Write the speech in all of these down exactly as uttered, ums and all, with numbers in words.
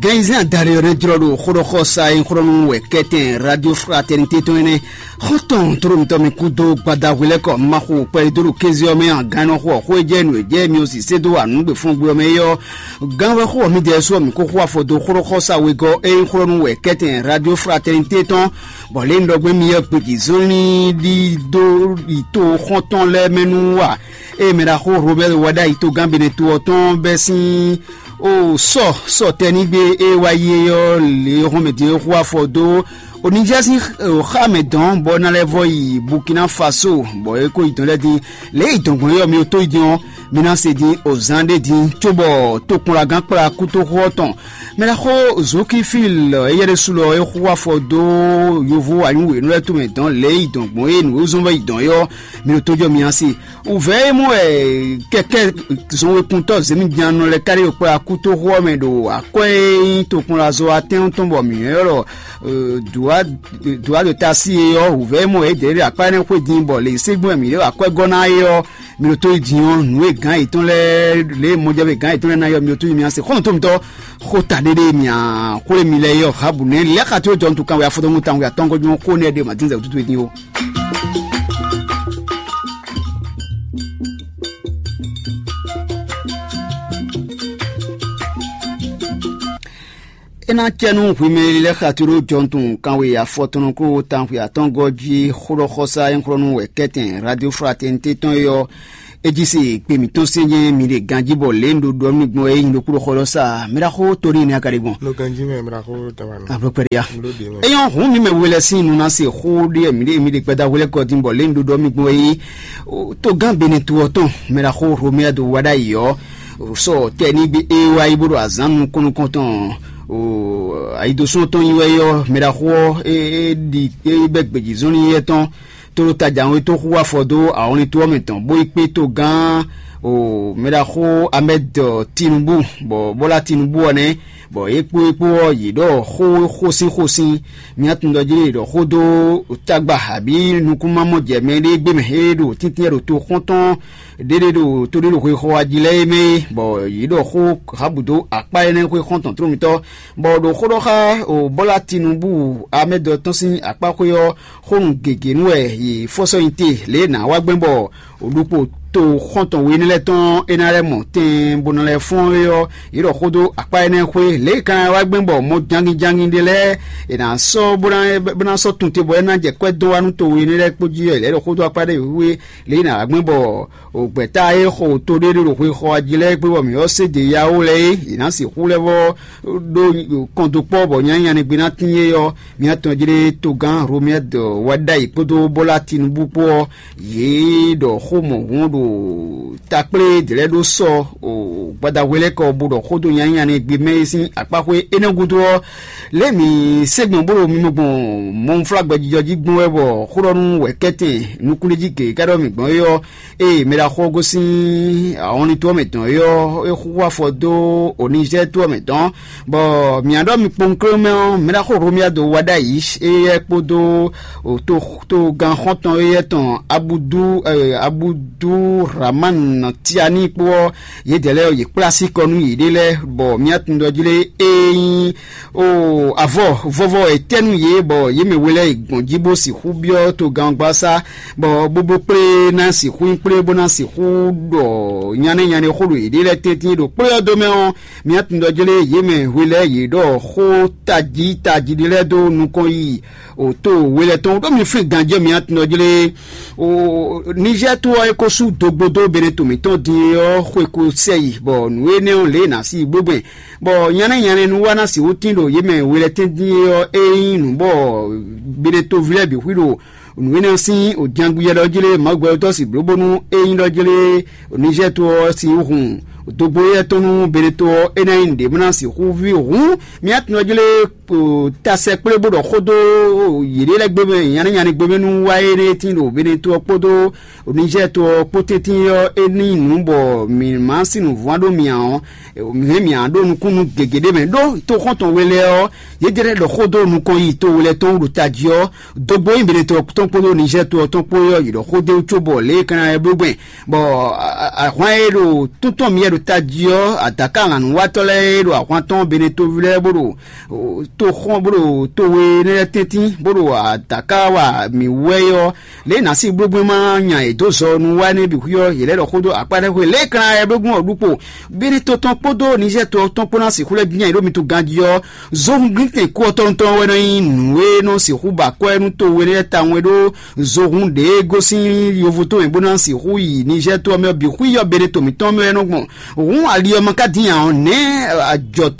Gɛnzɛn adarí ɔ́ nɛ́ jlɔ́ ɖo xóɖɔxɔsa e xlɔ́ nú wɛ kɛ́tɛn Radio Fraternité tɔn énɛ́. Xɔ́ntɔn tlólomítɔ́ mi kúdó gbadahwelɛ́kɔ ma xo kpɛɖé dó ɖo kéze ɔ́ mɛ a? Gán nɔ xo ɔ́, xó e jɛ nǔ e jɛ mi ɔ́ sisé dó wa nǔgbefɔ́ngbe ɔ́ mɛ é ɔ́, gán wɛ xo ɔ́, mǐdɛɛ su ɔ́, mǐ ko xo afɔ dó xóɖɔxɔsa wegɔ́ e nyí xlɔ́ nú wɛ kɛ́tɛn Radio Fraternité tɔn, bɔ lě e un ɖɔ gbɛn mi ɔ́, gbějǐzɔ́nlin ɖidó yi to xɔ́ntɔn lɛ́ɛ mɛ nú wa. Ée mɛ ɖaxó Robɛ́li wá ɖ'ayǐ togán Benɛto ɔ́ tɔn bɛ́ sín o sɔ sɔ tɛnígbe e wá yi é ɔ́, lě e hɔn mɛ din é xo afɔ dó Oníjɛ sín xá mɛ dɔn bɔ é ná lɛ́ vɔ yi Burkina Faso, bɔ é ko yi dɔn lɛ́ din. Lě e yi dɔn gbɔn é ɔ́, mi to yi din ɔ́, mi ná se din ozán ɖé din, cóbɔ tokpɔnlagán kplá kútóxó ɔ́ tɔn. Mɛ ɖaxó Zokifil éyɛ́ ɖésú lɔ é xo afɔ dó yovo anyǔwěnú lɛ́ɛ tomɛ dɔn lě e yi dɔn gbɔn é nǔ e zɔ́n vɔ yi dɔn é ɔ́, mi ɖo tójɔ mi asi. Wǔvɛ́ e mɔ wɛ kɛkɛ́ zɔnwekuntɔ́ zěmijannɔ lɛ́ɛ káɖí ɖo kplá kútóxó ɔ́ mɛ ɖo akwɛ́ e nyí tokpɔnlazɔ atɛ́nwúntɔn bɔ mǐ ylɔ́ ɖɔ dǔwa dǒ ta sí e ɔ́, wǔvɛ́ e mɔ yě ɖě ɖo akpá énɛ́ xwé din bɔ lě e ségbɔ́n mǐ ɖo akwɛ́ gɔ́ ná é ɔ́, mi ɖo tó yi din ɔ́, nǔ e gǎn yětɔn lɛ́ɛ lě e mɔjɛ́vɛ gǎn yětɔn lɛ́ɛ ná yɔ mi ɖo tó yi mi ase xɔ́ntɔn mi tɔ́ xó ta ɖéɖé mǐ a xwlé mi lɛ́ɛ yɔ habu nɛ́ lɛ́ xa tó jɔ ntu kanwe afɔtɔ́ngu kanwe atɔ́ngɔ́ ɔ́ xó nɛ́ ɖe mǎdínzɛ wútútú din ó. É ná cɛ nú hwi mɛ e lɛ́ xa tló jɔntun kanwe afɔtɔn kó tanxwi atɔ́ngɔ́ jí xóɖɔxɔsá e xlɔ́ nú wɛ kɛ́tɛn Radio Fraternité tɔn é ɔ́, é jí se kpe mǐtɔn se nyɛ mi ɖe ganjí bɔ lě un ɖo ɖɔ nú mi gbɔn é nyi ɖokpó xɔ lɔ sa mɛ ɖaxó tóní énɛ́ a ka ɖe gbɔn. Nɔ ganjí mɛ mɛ ɖaxó tawa nɔ. Ablɔkpɛɖeya. Nɔ ɖe mɛ. Éyɔ́ hǔn mi mɛ we lɛ́ɛ sín nu ná se xó ɖé mi ɖe mi ɖe gbɛda hwelɛ́kɔ dín bɔ lě un ɖo ɖɔ mi gbɔn é. Togán Benɛtu ɔ́ tɔn mɛ ɖaxó Romɛa do wá ɖ'ayǐ ɔ́, sɔ tɛnígbe e wá yi bó ɖo azǎn nukɔn nukɔn tɔn ayidosɔn tɔn yi wɛ yɔ mɛ ɖaxó ɔ́ e ɖi e bɛ gbějǐzɔnlin yɛ tɔn tó ɖo tajà ɔ́ tó xú afɔ dó awɔnlin tó ɔ́ mɛ tɔn bó yi kpé togán mɛ ɖaxó Amɛd Tinubu, bɔ Bɔla Tinubu ɔ́ nɛ́, bɔ é kpó é kpó ɔ́ yě ɖɔ xó xósín xósín. Mía tun ɖɔ jí ɖɔ xó dó tagba abǐ nukúnmamɔjɛmɛ ɖé gbé mɛ é ɖo tíntín ɖo to xɔ́ntɔn ɖéɖé ɖo to ɖé ɖo xwexɔ ají lɛ́ɛ é mɛ é, bɔ yě ɖɔ xó Rahabu dó akpá énɛ́ xwé xɔ́ntɔn tlómitɔ́, bɔ ɖo xó ɖɔ xá o Bɔla Tinubu Amɛdɔ tɔn sín akpá xwé ɔ́, xónu gěgé nú wɛ yě fɔ́sɔ́ nyi te lě e nǎ wá gbɛn bɔ ɖokpó to xɔ́ntɔn we énɛ́ lɛ́ɛ tɔn é ná lɛ́ mɔ tɛn bó ná lɛ́ fɔ́n é ɔ́, yě ɖɔ xó dó akpá énɛ́ xwé lě e ka ná wá gbɛn bɔ mɔ jangin jangin ɖé lɛ́ɛ è nǎ sɔ́ bó ná bó ná sɔ́ tun te bɔ é ná jɛ kwɛ́ dó wá nú to we énɛ́ lɛ́ɛ kpó jí ɔ́, è lɛ̌ ɖɔ xó dó akpá ɖé wíwé lě e nǎ wá gbɛn bɔ gbɛ̌ta e xo to ɖé ɖo xwexɔ jí lɛ́ɛ kpé bɔ mǐ ɔ́ sé ɖě yá ó lɛ́ɛ é, yě ná sixú lɛ́ vɔ ɖó kɔndokpɔ́ bɔ nyanya nɛgbé ná tín é ɔ́, mía tɔn jlé togán Romɛ́d wá ɖ'ayǐ kpódó Bɔ́lá Tinúbú kpó ɔ́, yě ɖɔ xó mɔ̌hun ɖo takplé dlɛ̌ ɖó sɔ gbadahwelɛ́kɔ bó ɖɔ xó dó nyanya nɛgbé mɛ é sín akpáxwé énɛ́ gúdo ɔ́, lě mǐ sé gbɔn bó ɖo mimɔ gbɔn mɔnflágbɛjijɔ jí gbɔn wɛ bɔ xó ɖɔ nú wɛ̌kɛ́tɛn nukúnɖéjí gěgé ká ɖɔ mǐ gbɔn é ɔ́, ée mɛ ɖaxó ɔ́ gosín ahɔnlin tó ɔ́ mɛ tɔn é ɔ́, é xúxú afɔ dó Onizɛ́ɛ tó ɔ́ mɛ tɔn, bɔ mǐ ɖɔ mi kpowun klé mɛ ɔ́, mɛ ɖaxó Romia do wá ɖ'ayǐ éyɛ́ kpódó togán xɔ́ntɔn éyɛ́ tɔn Abudu Abudu Ramán Tiani kpó ɔ́, yědɛɛ lɛ́ɛ ɔ́, yě kplá síkɔ nú yěɖée lɛ́ɛ, bɔ mía tunwun ɖɔ jlé é nyí o avɔ vɔvɔ etɛ́nu yě bɔ yě mɛ we lɛ́ɛ yi gbɔn jí bó sixú byɔ́ togán ɔ́ gbasá, bɔ bóbló kplé ná sixú nyí kplé bó ná sixú ɖɔ nyanɛ́ nyanɛ́ xó ɖo yěɖée lɛ́ɛ tɛ́ntin ɖo kplé ɔ́ dó mɛ ɔ́, mía tunwun ɖɔ jlé yě mɛ we lɛ́ɛ yě ɖɔ xó tají tají ɖé lɛ́ɛ dó nukɔn yi o to we lɛ́ɛ tɔn ɖó mi flín ganjɛ́ mía tunwun ɖɔ jlé o Nizɛ́ɛ to ɔ́ é ko sú dogbo dó Benɛto mǐtɔn din é ɔ́ xwe ko sɛ yi, bɔ nǔ énɛ́ ɔ́ lě e nǎ sí yi gbégbɛn bɔ nyanɛ́ nyanɛ́ nu wá ná sixú tín ɖo yě mɛ we lɛ́ɛ tɛ́ntin é ɔ́, é nyí nǔ bɔ Benɛtoví lɛ́ɛ bǐ xwí ɖo nǔ énɛ́ ɔ́ sín òjangbiɛ ɖɔ jlé Mawu gbɛtɔ́ si bló bónú é nyí ɖɔ jlé Nizɛ́ɛ to ɔ́ sín hun dogbo éyɛ́ tɔn nú Benɛto ɔ́, é ná nyí nǔɖé bó ná sixú ví hǔn mía tunwun jlé tasɛ kplé bó ɖɔ xó dó yěɖée lɛ́ɛ gbé mɛ nyanɛ́ nyanɛ́ gbé mɛ nú wá énɛ́ tín ɖo Benɛto ɔ́ kpódó Nizɛ́ɛ to ɔ́ kpó tɛ́ntin ɔ́, é ní nyí nǔ bɔ mǐ má sín nǔvɔ́n ɖó mì ǎ ɔ́, mǐ hɛn mǐ ǎ ɖó nukúnnú gěgé ɖé mɛ ɖó toxɔ́ntɔn we lɛ́ɛ ɔ́, yědɛ́ lɛ́ɛ ɖɔ xó dó nukɔn yi to we lɛ́ɛ tɔn wú ɖo tají ɔ́, dó gbó nyi Benɛto ɔ́ tɔn kpódó Nizɛ́ɛ to ɔ́ tɔn kpó ɔ́, yě ɖɔ xó d'é wú cóbɔ lě e é ka ná lɛ́ bló gbɛn, bɔ ahwan e ɖo tún tɔn mǐ wɛ ɖo Tají ɔ́, adǎka lǎnúwatɔ́ lɛ́ɛ e ɖo ahwan tɔn Benetóví lɛ́ɛ bó ɖo toxɔ́n bó ɖo towe énɛ́ lɛ́ɛ tɛ́ntin bó ɖo adǎka wa mǐ wú wɛ é ɔ́, lě e nǎ sí blógbɛ́n ma nya yě dó zɔ nú wá énɛ́ bǐ xwí ɔ́, yě lɛ́ ɖɔ xó dó akpá lɛ́ɛ xwe lě e kan ɛ blógbɛ́n ɔ́ ɖu kpo. Beneto tɔn kpódó Nizɛ́ɛ to ɔ́ tɔn kpó ná sixú lɛ́ bǐ nya yě ɖo mi to ganjí ɔ́, zohun glíntɛn kú ɔ́ tɔn tɔn wɛ nɔ nyí nǔ e nɔ sixú ba akwɛ́ nú towe lɛ́ɛ tawun é ɖó zohun ɖě e gosín yovo tɔn mɛ bó ná sixú yi Nizɛ́ɛ to ɔ́ mɛ ɔ́ bǐ xwí ɔ́ Beneto mǐtɔn mɛ wɛ nɔ gbɔn. Hǔn ali ɔ́ ma ka dín ǎ ɔ́, nɛ̌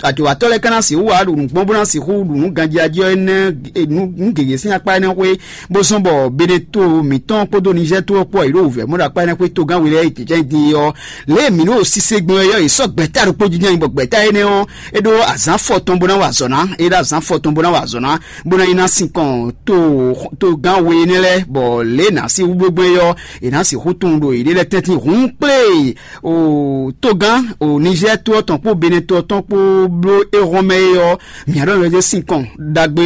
ajɔ̌watɔ́ lɛ́ɛ ka ná sixú wá ɖo nǔ gbɔn bó ná sixú ɖu nǔ ganjí ɔ́ énɛ́ nǔ gěgé sín akpá énɛ́ xwé, bó zɔ́n bɔ Beneto mǐtɔn kpódó Nizɛ́ɛ to ɔ́ kpó ɔ́, yě ɖo wǔvɛ́ mɔ ɖo akpá énɛ́ xwé togán we lɛ́ɛ yi jǐjɛ́n din é ɔ́, lě e mǐ ɖo sise gbɔn wɛ ɔ́, yě sɔ́ gbɛ̌ta ɖokpó jínjɔ́n nyi bɔ gbɛ̌ta énɛ́ ɔ́, é ɖó azǎn fɔ tɔn bó ná wa azɔ̌ ná, é ɖó azǎn fɔ tɔn bó ná wa azɔ̌ ná, bó ná yi ná sinkɔn to togán we énɛ́ lɛ́ɛ, bɔ lě e nǎ sí hú gbégbé é ɔ́, è nǎ sixú tunwun ɖo yěɖée lɛ́ɛ tɛ́ntin hǔn kplé o togán o Nizɛ́ɛ to ɔ́ tɔn kpó Benɛ́ to ɔ́ tɔn kpó bló éhɔ́nmɛ é ɔ́, mǐ ɖɔ mɛ ɖé sinkɔn ɖagbe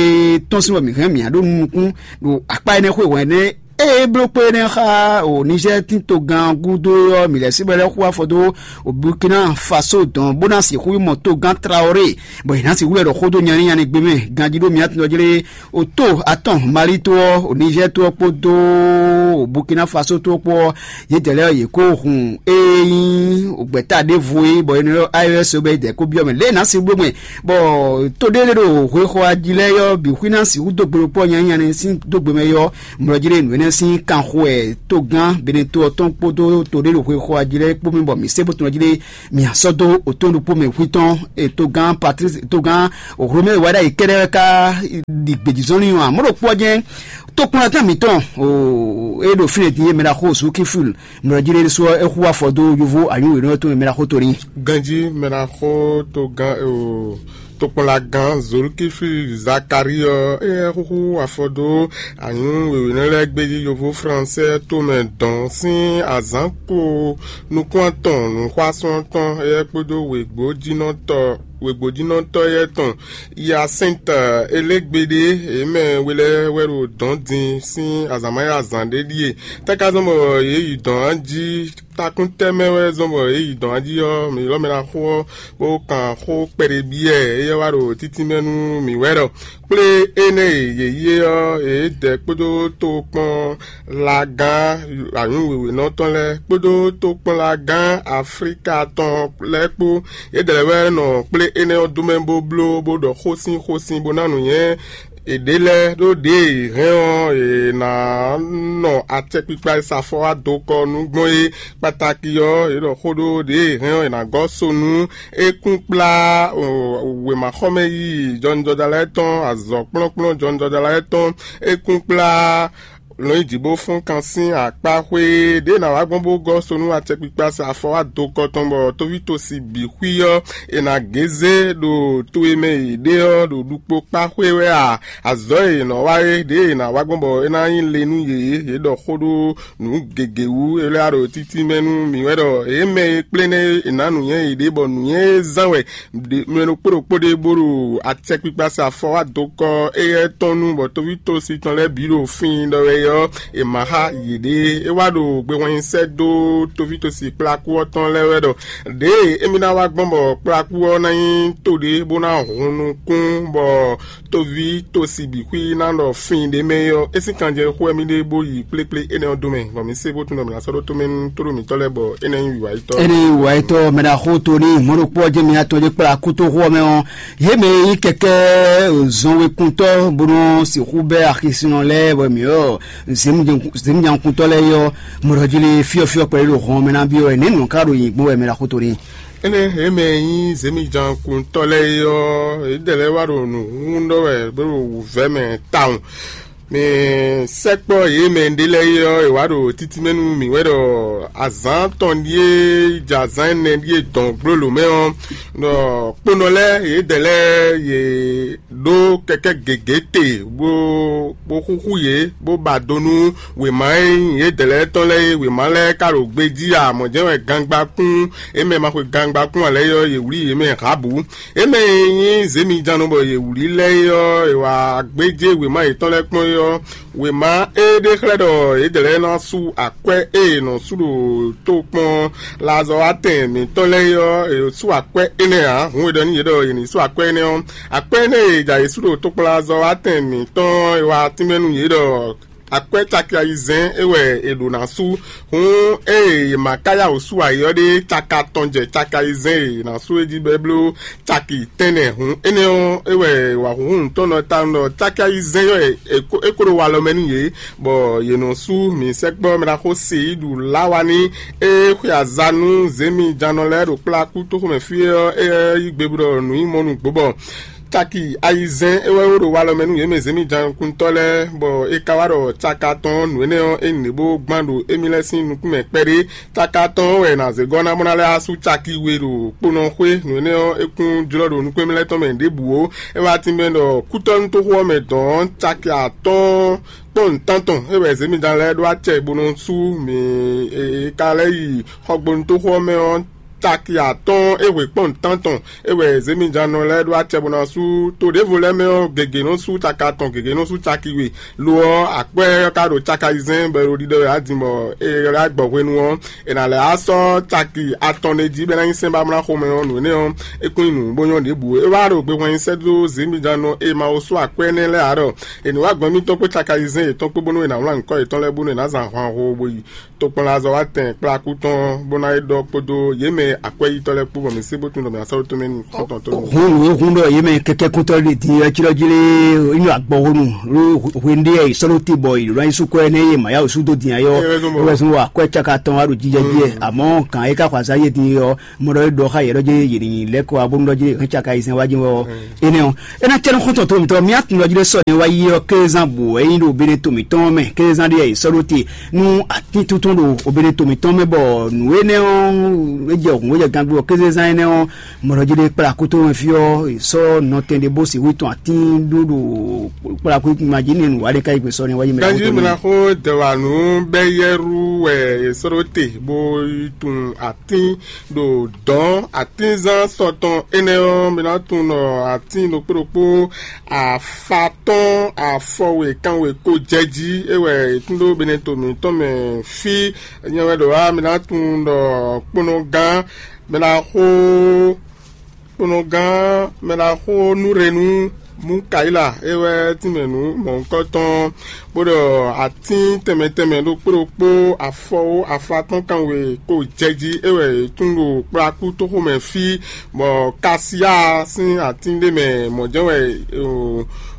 tɔn sín bɔ mǐ hɛn mǐ ɖó nukún ɖo akpá énɛ́ xwé hwɛ̌n énɛ́ ée bló kpé énɛ́ xá o Nizɛ́ɛ tín togán gúdo é ɔ́, mǐ lɛ́ sí bɔ é lɛ́ xú afɔ dó o Burkina Faso dɔn bó ná sixú yi mɔ togán Traoré, bɔ è nǎ sixú lɛ́ ɖɔ xó dó nyanínyanní gbé mɛ ganjí ɖó mǐ atɔn jlé o tó atɔn Mali tó ɔ́, o Nizɛ́ɛ tó ɔ́ kpódó o Burkina Faso tó ɔ́ kpó ɔ́, yědɛɛ lɛ́ɛ yě kó hun ée nyí gbɛ̌ta ɖěvo é, bɔ è nɔ ylɔ́ A E S bɔ yědɛɛ kó byɔ́ mɛ lě e nǎ sixú gbé mɛ, bɔ to ɖé lé ɖo hwexɔ ají lɛ́ɛ ɔ́ bǐ xwí ná sixú dó gbe ɖokpó ɔ́ nyanínyanní sín dó gbe mɛ é ɔ́, mlɔjí lé nǔ énɛ́ sín kanxo wɛ togán Benɛto ɔ́ tɔn kpódó to ɖé ɖo xwexɔ ají lɛ́ɛ kpó mɛ bɔ mǐ se bó tunɔ jí lé mǐ sɔ́ dó otɔn ɖokpó mɛ xwí tɔn e togán Patrice togán Romɛ wá ɖ'ayǐ kɛ́ɖɛ́ wɛ ká ɖi gbějízɔ́nlin ɔ́ ǎ. Mɔ̌ ɖokpó ɔ́ jɛ́n tokpɔ́nlatán mǐtɔn e ɖo fínɛ́ din e mɛ ɖaxó Zukifil mlɔjí lé ɖésú ɔ́, é hu afɔ dó yovo anyǔwǐnɔ tɔn e mɛ ɖaxó to n'i. Ganjí mɛ ɖaxó togán o tokpɔnlagán Zolukifli Zakari ɔ́, éyɛ́ xúxú afɔ dó anyǔ wěwénɔ lɛ́ɛ gbéjí yovo fransɛ tomɛ dɔn sín azǎn ko nukún atɔn nǔxwásún tɔn éyɛ́ kpódó wěgbójínɔtɔ́ wěgbójínɔtɔ́ éyɛ́ tɔn Yasɛ́nta élégbéɖé, yě mɛ we lɛ́ɛ wɛ ɖo dɔ̌n din sín azǎn ma nyí azǎn ɖé ɖíe. Tɛ́ ka zɔ́n bɔ yě yi dɔ̌n jí takún tɛ́ mɛ wɛ zɔ́n bɔ yě yi dɔ̌n jí ɔ́, mǐ lɔ́ mɛ ná xo ɔ́, bó kan xó kpɛɖé byɔ́ ɛ, éyɛ́ wá ɖo títínmɛ nú mǐ wɛ ɖɔ kplé énɛ́ e yě yi é ɔ́, yědɛɛ kpódó tokpɔn lagán anyǔ wěwénɔ tɔn lɛ́ɛ kpódó tokpɔnlagán Aflíka tɔn lɛ́ɛ kpó. Yědɛɛ lɛ́ɛ wɛ nɔ kplé énɛ́ ɔ́ dó mɛ bó bló bó ɖɔ xó sín xó sín bó ná nǔnywɛ́ yěɖée lɛ́ɛ ɖó ɖěe è hɛn ɔ́, è nǎ nɔ acɛkpikpa e sa afɔ wá do kɔ nú gbɔn é. Kpatáki ɔ́, è ɖɔ xó ɖó ɖěe è hɛn ɔ́, è nǎ gɔ́ so nú é kún kplá wěmaxɔmɛ yíyí jɔnijɔja lɛ́ɛ tɔn, azɔ̌ kplɔ́nkplɔ́n jɔnijɔja lɛ́ɛ tɔn, é kún kplá lɔ̌nyijǐ bó fɔ́n kan sín akpá xwé ɖě è nǎ wá gbɔn bó gɔ́ so nú acɛkpikpa sa afɔ wá do kɔ tɔn bɔ tóvítosi bǐ xwí ɔ́, è nǎ gézé ɖo to e mɛ è ɖe ɔ́ ɖo ɖukpó kpá xwé wɛ a? Azɔ̌ e è nɔ wa é ɖě è nǎ wá gbɔn bɔ é ná nyí le nú yě, yě ɖɔ xó ɖó nǔ gěgé wú, é lɛ́ wá ɖo títí mɛ nú mǐ wɛ ɖɔ yě mɛ e kplé nɛ́ è nǎ nǔnywɛ́ yěɖée bɔ nǔnywɛ́ e zán wɛ mɛ ɖokpó ɖokpó ɖé bó ɖo acɛkpikpa sa afɔ wá do kɔ éyɛ́ tɔn nu bɔ tóvítosi tɔn lɛ́ɛ bǐ ɖo fin ɖɔ wɛ ɔ́, è ma xá yěɖée. É wá ɖo gbehwanyi sɛ́ dó tóvítosi kplákú ɔ́ tɔn lɛ́ɛ wɛ ɖɔ ɖěe émí ná wá gbɔn bɔ kplákú ɔ́ ná nyí to ɖé bó ná hun nukún bɔ tóví tosi bǐ xwí ná ɖɔ fin ɖé mɛ é ɔ́, é sín kanjɛ xó wɛ mì ɖe bó yi kplékplé énɛ́ ɔ́ dó mɛ, bɔ mǐ se bó tunwun ɖɔ mǐ ná sɔ́ ɖó tomɛ nú tóɖó mǐtɔn lɛ́ɛ bɔ énɛ́ nyí wǐwáyítɔ́. Ene wa etɔ mɛ ɖaxó to ní mɔɖokpɔ jɛ mi atɔ jɛ kpla kútóxó mɛ ɔ́, yé mɛ yí kɛkɛ zɔnwekuntɔ bó nɔ sixú bɛ axisinɔ lɛ bɔ mi ɔ zimjankuntɔ lɛ yɔ mɔɖɔjili fiɔfiɔ kpɛlɛ ɖo hɔn mɛ na bi ɔ ne nɔ ka ɖo yi gbɔn wɛ mɛ ɖaxó to ní. Ene yé mɛ yí zemijankuntɔ lɛ yɔ yédɛ lɛ wa ɖo nǔ hún ɖɔ wɛ bó ɖo wǔvɛ́ mɛ tawun. Mɛ sɛkpɔ yě mɛ ɖé lɛ́ɛ é ɔ́, è wǎ ɖo títí mɛ nú mǐ wɛ ɖɔ azǎn tɔn ɖíe jɛ azǎn ɛnɛ ɖíe dɔn gbló lǒ mɛ ɔ́, ɖɔ kponɔ lɛ́ɛ yědɛɛ lɛ́ɛ yě ɖó kɛkɛ́ gěgé te bó bó xúxú yě bó ba do nú wěma e nyí yědɛɛ lɛ́ɛ tɔn lɛ́ɛ é. Wěma lɛ́ɛ ka ɖo gbejí ǎ, mɔ̌ jɛ́n wɛ gangbakún é mɛ ma xwe gangbakún ǎ lɛ́ɛ é ɔ́, yě wlí yě mɛ hǎbǔ. É mɛ e nyí zěmijannɔ bɔ yě wlí lɛ́ɛ é ɔ́, è wǎ gbéjé wěma yětɔn lɛ́ɛ kpɔ́n ɔ́, wěma e ɖe xlɛ́ ɖɔ yědɛɛ lɛ́ɛ ná sú akwɛ́ e è nɔ sú ɖo tokpɔn lazɔ́watɛn mǐtɔn lɛ́ɛ é ɔ́, è sú akwɛ́ énɛ́ ǎ. Hǔn è ɖɔ nú yě ɖɔ yě ní sú akwɛ́ énɛ́ ɔ́, akwɛ́ énɛ́ e è ja yě sú ɖo tokpɔn lazɔ́watɛn mǐtɔn ɔ́, è wá tínmɛ nú yě ɖɔ akwɛ́ caki ayizɛ́n é wɛ è ɖǒ ná sú. Hǔn ée è ma ka yá wǔ sú ayǐ ɔ́ ɖé, caki atɔn jɛ caki ayizɛ́n e è nǎ sú é jí bɔ é bló caki tɛ́nnɛ. Hǔn énɛ́ ɔ́, é wɛ wǎhúnhún tɔn nɔ ta nɔ caki ayizɛ́n ɔ́, é ko ɖo walɔ mɛ nú yě, bɔ yě nɔ sú. Mǐ sɛkpɔ́ mɛ ɖaxó Seyidu Lawani e xwe aza nú zěmijannɔ lɛ́ɛ ɖo kplá kú tóxómɛ fí é ɔ́, é yí gbe bɔ nǔ yi mɔ nú gbǒ bɔ caki ayizɛ́n é wɛ wó ɖo walɔ mɛ nú yě mɛ zěmijannɔkuntɔ́ lɛ́ɛ, bɔ é ka wá ɖɔ caki atɔn nǔ énɛ́ ɔ́, é nǐ bó gbán ɖo émí lɛ́ɛ sín nukún mɛ kpɛɖé. Caki atɔn ɔ́ wɛ è nǎ zé gɔ́ ná bó ná lɛ́ wá sú caki we ɖo kponɔ xwé. Nǔ énɛ́ ɔ́, é kún jlɔ́ ɖo nukún émí lɛ́ɛ tɔn mɛ ɖěbǔ ó. É wá tínmɛ ɖɔ kútɔ́nútóxó ɔ́ mɛ dɔ̌n caki atɔ́ɔ́n kpɔ́n nǔtántɔn é wɛ zěmijannɔ lɛ́ɛ ɖó acɛ bó nɔ sú mǐ e ka lɛ́ yi xɔgbónútóxó ɔ́ mɛ ɔ́, caki atɔ́ɔ́n é hwe kpɔ́n nǔtántɔn é wɛ zěmijannɔ lɛ́ɛ ɖó acɛ bó ná sú. To ɖěvo lɛ́ɛ mɛ ɔ́, gěgé nɔ sú caki atɔn, gěgé nɔ sú caki we. Lo ɔ́, akwɛ́ ɔ́ ka ɖo caki ayizɛ́n bɔ è ɖo ɖiɖɔ wɛ á din bɔ è lɛ́ gbɔ hwenu ɔ́, è nǎ lɛ́ á sɔ́ caki atɔn ɖé jí bɔ é ná nyí sɛ́n ba mlá xomɛ ɔ́. Nǔ énɛ́ ɔ́, é kún nyí nǔ bó nyɔ́ ɖěbǔ. É wá ɖo gbehwanyinsɛ́ dó zěmijannɔ e ma wo sú akwɛ́ énɛ́ lɛ́ɛ ǎ ɖɔ è nǐ wá gbɔn émítɔn kpó caki ayizɛ́n yětɔn kpó bónú è nǎ wlán nyǐkɔ yětɔn lɛ́ɛ bónú è nǎ zan ahwan ho bó yi tokpɔnlazɔ́watɛn kplá kú tɔn bó ná yi ɖɔ kpódó yě mɛ akwɛ́yítɔ́ lɛ́ɛ kpó bɔ mǐ sé bó tunwun ɖɔ mǐ ná sɔ́ ɖó tómɛ nú xɔ́ntɔn tó nú. Hǔn nǔ e hun ɖɔ yě mɛ kɛkɛ́kúntɔ́ ɖe din ɔ́, cíɖɔ́ jí lé nyí agbɔhonu ɖó hwenu ɖé e sɔ́ ɖó te bɔ è ɖǒ ná yi sú kɔ énɛ́ e Mayá wǒ sú dó din ayé ɔ́, é wɛ zɔ́n bɔ é wɛ zɔ́n wɔ akwɛ́ cáka tɔn wá ɖo jijɛ jí ɛ, àmọ́ gǎn e ka xɔ azǎn yé din ɔ́, mɔ ɖɔ é ɖɔ xá yě ɖɔ jí yě ní lɛ́ kɔ wá bónú ɖɔ jí hɛn cáka yi sɛn wá jí wɛ ɔ́. Énɛ́ ɔ́, é ná cɛ́ nú xɔ́ntɔn tó mǐtɔn mì á tunwun ɖɔ jí ɖé sɔ́ nɛ́ wá yí ɔ́ kézán bǔ wɛ nyí ɖo bene to mǐtɔn mɛ kézán ɖé e sɔ́ ɖó te nú atín tuntun ɖo obene to mǐtɔn mɛ bɔ nǔ énɛ́ ɔ́ é jɛ hǔn é jɛ gangbe ɔ́ kézán énɛ́ ɔ́ mɔ̌ jí ɖé kplá kútó mɛ fí ɔ́ è sɔ́ nɔtɛn ɖé bó sixú tɔn atín ɖó ɖo kplá kú ma jí nɛ́ nǔ wa ɖé ká yi gbé sɔ́ nɛ́ wá yí mɛ. Ganjí mi ná xó dɛwanu bɛ́ yɛ́rú wɛ è sɔ́ ɖó te bó yi tunwun atín ɖo dɔ̌n atínzán sɔtɔn énɛ́ ɔ́, mi ná tunwun ɖɔ atín ɖokpó ɖokpó afatɔ́n afɔwe kanwe ko jɛ jí é wɛ è tún ɖó beneto mǐtɔn mɛ fí. Nyɛ wɛ ɖo wá, mi ná tunwun ɖɔ kponɔgán, mi ná xó kponɔgán, mi ná xó núɖenu Mukayila é wɛ tínmɛ nǔ mɔ̌hunkɔtɔn, bó ɖɔ atín tɛnmɛ tɛnmɛ ɖokpó ɖokpó afɔwo aflatɔ́n kanwe ko jɛ jí é wɛ è tún ɖo kplakú tóxo mɛ fí, bɔ kasiya sín atín ɖé mɛ mɔ̌ jɛ́n wɛ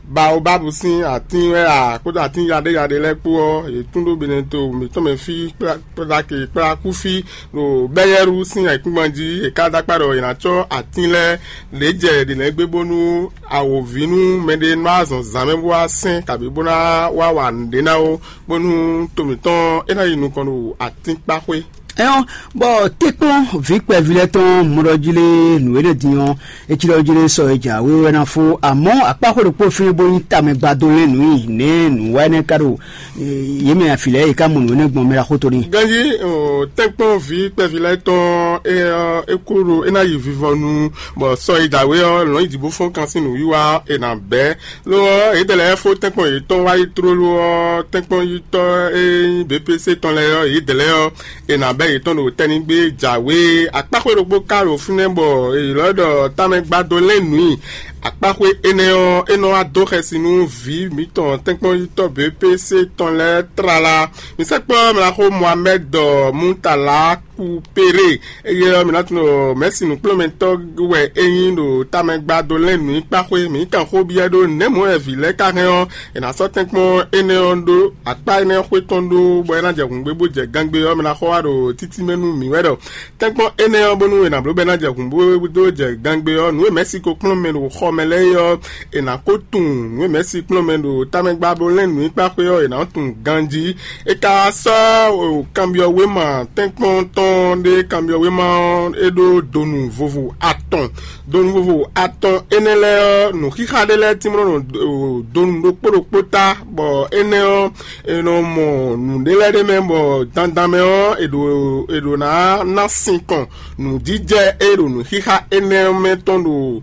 baobábu sín atín wɛ a kpódó atín yaɖéyaɖé lɛ́ɛ kpó ɔ́, è tún ɖó beneto mǐtɔn mɛ fí kplake kplakú fí ɖo bɛ́yɛ́ɖu sín ayǐkúngban jí. È ka dó akpá ɖɔ è nǎ cɔ́ atín lɛ́ɛ lě jɛ ɖě lɛ́ɛ gbé bónú awǒvi nú mɛɖé nɔ azɔn zǎnmɛ bó wá sɛn kabǐ bó ná wá wa nǔɖé ná ó, bónú to mǐtɔn é ná yi nukɔn ɖo atínkpáxwé. Ɛn ɔ́, bɔ tɛ́nkpɔ́n vǐ kpɛví lɛ́ɛ tɔn mɔɖɔjílé nǔ énɛ́ din ɔ́, é cí ɖɔ jílé sɔ é jǎwe wɛ ná fó, amɔ̌ akpáxwé ɖokpó fínɛ́ bó nyí tamɛ gbadó lɛ́n nǔ nyi nɛ̌ nǔ wa énɛ́ ka ɖo yě mɛ afilɛ e ka mɔ nǔ énɛ́ gbɔn mɛ ɖaxó to ní. Ganjí tɛ́nkpɔ́n vǐ kpɛví lɛ́ɛ tɔn é ɔ́, é kú ɖo é ná yi vivɔnu, bɔ sɔ e jǎwe ɔ́ lɔ̌n yi jǐ bó fɔ́n kan sín nǔwiwa ɔ́, è nǎ bɛ́. Lo ɔ́, yědɛɛ lɛ́ɛ fó tɛ́nkpɔ́n yětɔn wá yi tlóló ɔ́, tɛ́nkpɔ́n yítɔ́ e nyí B P C tɔn lɛ́ɛ ɔ́, yědɛɛ lɛ́ɛ ɔ́, è nǎ bɛ́ yětɔn ɖo tɛ́nnígbé jǎwe. Akpáxwé ɖokpó ka ɖo fínɛ́ bɔ è ylɔ́ ɖɔ tamɛ gbadó lɛ́n nǔ i. Akpáxwé énɛ́ ɔ́, é nɔ wá dó xɛsi nú vǐ mǐtɔn tɛ́nkpɔ́n yítɔ́ B P C tɔn lɛ́ɛ tlala. Mi sɛkpɔ́ mlaxó Mohamɛd Mutala Kupere. Eye ɔ́, mǐ ná tunwun ɖɔ mɛ̌si nǔkplɔ́nmɛtɔ́ wɛ é nyí ɖo tamɛ gbadó lɛ́n nǔ nyí kpáxwé. Mǐ kan xó byɔ́ ɖó nɛ̌ mɔ̌ wɛ vǐ lɛ́ɛ ka hɛn ɔ́, è nǎ sɔ́ tɛ́nkpɔ́n énɛ́ ɔ́ ɖó akpá énɛ́ ɔ́ xwé tɔn ɖó bɔ é ná jɛ hǔngbé bó jɛ gangbé ɔ́, mɛ ná xɔ wá ɖo títí mɛ nú mǐ wɛ ɖɔ tɛ́nkpɔ́n énɛ́ ɔ́, bónú è nǎ bló bɔ é ná jɛ hǔngbó dó jɛ gangbé ɔ́, nǔ e mɛ̌si ko kplɔ́n mɛ ɖo xɔ mɛ lɛ́ɛ é ɔ́, è nǎ ko tunwun nǔ e mɛ̌si kplɔ́n mɛ ɖo tamɛgbablo lɛ́ɛ nǔ nyíkpá xwé ɔ́, è nǎ tunwun ganjí. É ka sɔ́ kanbyɔ́wéma tɛ́nkpɔ́n tɔn ɖé, kanbyɔ́wéma ɔ́, é ɖó donu vovo atɔn. Donu vovo atɔn énɛ́ lɛ́ɛ ɔ́, nǔxixa ɖé lɛ́ɛ tínmlɔ́ nɔ donu ɖokpó ɖokpó ta, bɔ énɛ́ ɔ́, è nɔ mɔ nǔɖé lɛ́ɛ ɖ'é mɛ, bɔ dandan mɛ ɔ́, è ɖo è ɖo ná ná sinkɔn nǔjijɛ e ɖo nǔxixa énɛ́ mɛ tɔn ɖo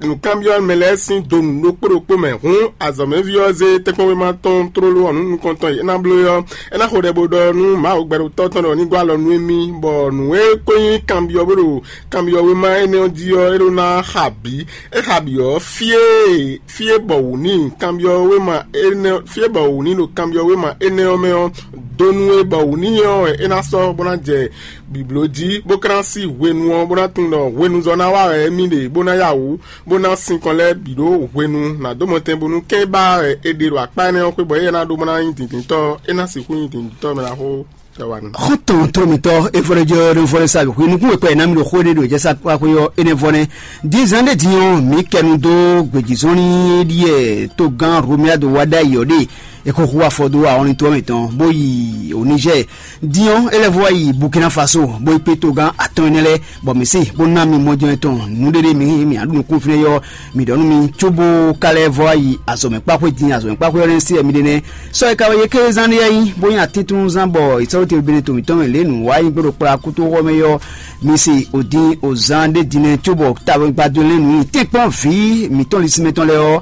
nǔkanbyɔ́ mɛ lɛ́ɛ sín donu ɖokpó ɖokpó mɛ. Hǔn azɔ̌mɛví ɔ́ zé tɛ́nkpɔ́nwéma tɔn tlóló ɔ́ nú nukɔntɔn e é ná bló é ɔ́, é ná xo ɖɛ bó ɖɔ nú Mawu gbɛɖotɔ́ tɔn ɖɔ ní gɔ́ alɔ nú émí, bɔ nǔ e ko nyí kanbyɔ́ bó ɖo kanbyɔ́ wéma énɛ́ ɔ́ jí ɔ́, é ɖó ná xa bǐ. É xa bǐ ɔ́, fí e fí e bɔ wǔ n'i kanbyɔ́ wéma énɛ́ fí e bɔ wǔ n'i ɖo kanbyɔ́ wéma énɛ́ ɔ́ mɛ ɔ́, donu e bɔ wǔ n'i ɔ́ wɛ é ná sɔ́ bó ná jɛ bǐbló jí, bó ka ná sí hwenu ɔ́, bó ná tunwun ɖɔ hwenuzɔ́ ná wa wɛ émí ɖe, bó ná ya wǔ, bó ná sinkɔn lɛ́ɛ bǐ ɖó hwenu ná dó mɔtɛn bónú kɛ́n ba wɛ è ɖe ɖo akpá énɛ́ ɔ́ xwé bɔ éyɛ́ ná ɖó bó ná nyí dǐndíntɔ́, é ná sixú nyí dǐndíntɔ́ mɛ ná xó. Tɛwanu. Xɔ́ntɔn tlɔ́mítɔ́ Efɔlɛjɔ ɖo vɔlɛ sa hwi nukún wekpɛ ná mi ɖo xó ɖé ɖo jɛ sa kpáxwé ɔ́ énɛ́ vɔ nɛ́. Dízan ɖé din ɔ́, mǐ kɛ nu dó gbějízɔ́n ní ɖíe togán Romuald Wadai ɔ́ ɖe é ko hu afɔ dó awɔnlintɔ́ mǐtɔn bó yi Oníjɛ. Din ɔ́, é lɛ́ vɔ yi Burkina Faso bó yi kpé togán atɔn énɛ́ lɛ́ɛ, bɔ mǐ se bó ná mi mɔjɛ́n tɔn nǔɖéɖé mǐ mǐ aɖu nukún fínɛ́ yɔ mǐ ɖɔ nú mi cóbó ka lɛ́ vɔ yi azɔ̌mɛ kpáxwé din azɔ̌mɛ kpáxwé ɔ́ nɛ́ se mi ɖe nɛ́. Sɔ e ka wɛ yě ké zán ɖe yí bó nyi atíntúnzán bɔ ìsɔ́wétewúgbénɛ́ to mǐtɔn mɛ lě nǔ wá yi gbé ɖo kplá kútóxɔ mɛ yɔ. Mi se òdin òzán ɖé din nɛ́ cóbɔ tawɛngbadó lɛ́ɛ nǔ nyi tɛ́nkpɔ́n vǐ mǐtɔn lisínmɛ tɔn lɛ́ɛ ɔ́,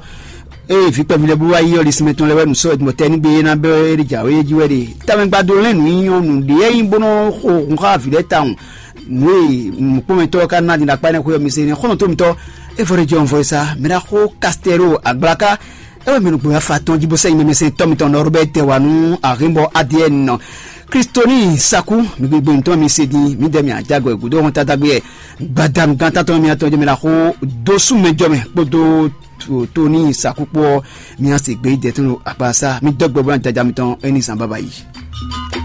eye vǐ kpɛví lɛ́ɛ bó wá yi ɔ́, lisínmɛ tɔn lɛ́ɛ wɛ nǔ sɔ́ wɛ̌dumɔtɛ́ ní gbé é ná bɛ́ é jǎwe é jí wɛ ɖe. Tawɛngbadó lɛ́ɛ nǔ nyi ɔ́, nǔɖé yí bónú xo hun xá vǐ lɛ́ɛ tawun. Nǔ e nǔkpɔ́nmɛtɔ́ ɔ́ ka ná din ɖo akpá énɛ́ xwé ɔ́, mi se nɛ́ xɔ́ntɔn tó mitɔ́. É vɔ ɖé jɔ un vɔ sa mɛ ɖaxó Kastɛro Agblaka. É wɛ mi nɔ gbɔn afa tɔn jí bó sɛ́ nyi mɛmɛsɛntɔ́ mitɔn Nɔrbɛ́ tɛ wá nú Ahinbɔ Adiɛn. Kristoni Saku, mi gbegbe ŋutɔn mi se din, mi dɛ mi ajagɔ e gǔdo hɔn tadagbe yɛ. Gbadanu gán tantɔn mi atɔn jɛ mi la xó dó sú mɛ jɔ mɛ kpódó Toni Saku kpó ɔ́, mi ase gbé dɛ tɔn akpasa mi dɔ gbɔ bó na jaja mitɔn é ní zan baba yi.